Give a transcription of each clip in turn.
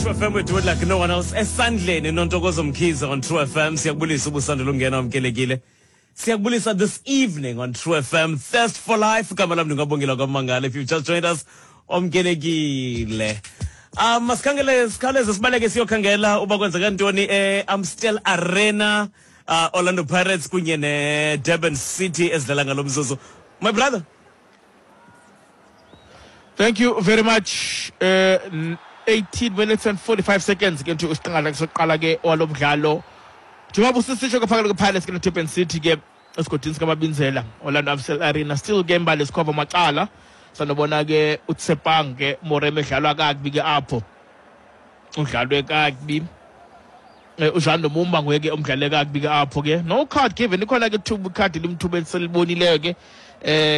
True FM, we do it like no one else. Esandleni noNtokozo Mkhize on True FM. Siyakubulisa ubusandula ungena wamkelekile. Siyakubulisa this evening on True FM. Thirst for Life. Igama lam ndingabongela kwaMangala. If you've just joined us, omkelekile. Masikhangele sikhawuleze sibaleke siyokhangela uba kwenzeka ntoni e-Amstel Arena. Orlando Pirates kunye ne-Durban City ezidlala ngalo mzuzu. My brother. Thank you very much. 18 minutes and 45 seconds ke nje usiqingatha sokuqala ke walo mdlalo. Njengoba usisitsho ke phakathi kwePirates ke neDurban City ke esigodini sikaMabinzela, Orlando Amstel Arena, still ke imbali sikhova macala. Sanobona ke uTsepang ke Moremi edlalwa kakubi ke apho. Udlalwe kakubi. uJan Lumumba nguye ke omdlale kakubi ke apho ke. No card given, ikhona ke thuba ikhadi limthuba eliselibonileyo ke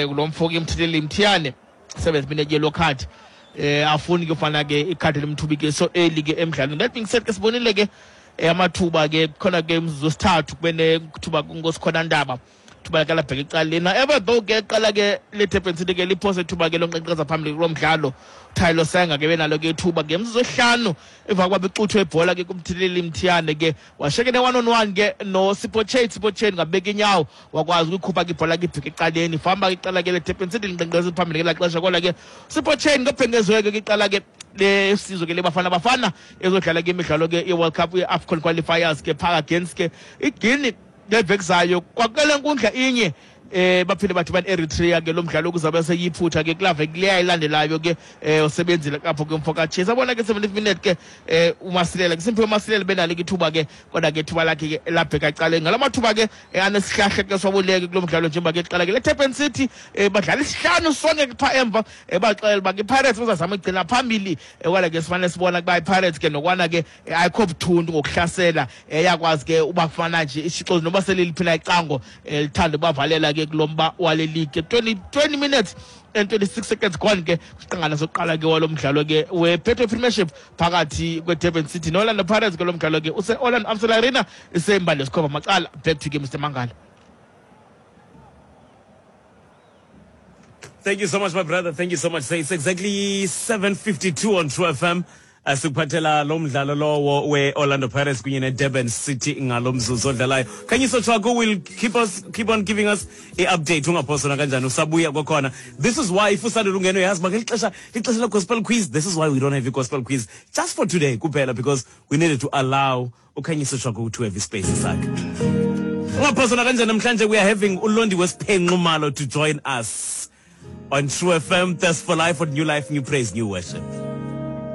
kulo mfo ke Mthetheli Mthiyane, 7th minute yellow card. Afuni ke ufana ke ikhadi limthubi ke so early ke emdlalweni. That being said ke sibonile ke amathuba ke khona ke umzuzu wesithathu kube nethuba kuNkosikhona Ndaba, thuba ke labheka ecaleni. However though ke qala ke le Durban City ke liphose ithuba ke lonqenqeza phambili kulo mdlalo. Tyler Senga ke benalo ke ithuba ngemzuzu wesihlanu emva kokuba bexuthwe ibhola ke kuMthetheli Mthiyane ke washeke ne 1 on 1 ke no Sipho Chaine. Sipho Chaine ngabeka inyawo wakwazi ukuyikhupha ke ibhola ke ibheke ecaleni. Famba ke iqala ke le Durban City linqenqeza phambili ngelaa xesha, kodwa ke Sipho Chaine ngobhengezwe ke iqala ke lesizwe ke leBafana Bafana ezodlala ke imidlalo ke ye-World Cup, ye-AFCON qualifiers ke phaa against ke iGuinea ngeveki zayo kwakele nkundla inye. Baphinde bathi bani Eritrea ke lo mdlalo kuzabe seyiphutha ke kulaa veki leya ilandelayo ke usebenzile apho ke umfo kaChase. Abona ke 70th minute ke uMasilela ke Simphiwe Masilela benalo ke ithuba ke, kodwa ke ithuba lakhe ke labheka ecaleni. Ngala mathuba ke anesihlahla ke siwabuleke kulo mdlalo njengoba ke iqala ke le Durban City badlala isihlanu sonke ke phaa emva, baxelela uba ke iPirates bazazama igcina phambili. Kodwa ke sifane sibona ukuba iPirates ke nokwana ke ayikho buthuntu ngokuhlasela, iyakwazi ke ubafana nje isixozi noba seliliphi na icango, lithanda ubavalela ke kulo mba wale league. 20 minutes and 26 seconds gone ke kwisiqingana sokuqala ke walo mdlalo ke we-Betway Premiership phakathi kwe-Durban City no-Orlando Pirates. Ke lo mdlalo ke use-Orlando Amstel Arena, isembali yesikhova macala. Back to ke Mr Mangala. Thank you so much, my brother. Thank you so much. It's exactly 7:52 on True FM. Sikuphathela lo mdlalo lowo we-Orlando Pirates kunye ne-Durban City ngalo mzuzu odlalayo. Khanyiso Tshwaku will keep on giving us i-update. Ungaphoswa nakanjani usabuya kwakhona. This is why if usandula ungena uyazi uba ngeli xesha ixesha le-gospel quiz. This is why we don't have a gospel quiz just for today kuphela, because we needed to allow uKhanyiso Tshwaku to have ispace sakhe. Ungaphoswa nakanjani, namhlanje we are having uLondi Wesiphenxumalo to join us on True FM, Thirst for Life, on New Life, New Praise, New Worship.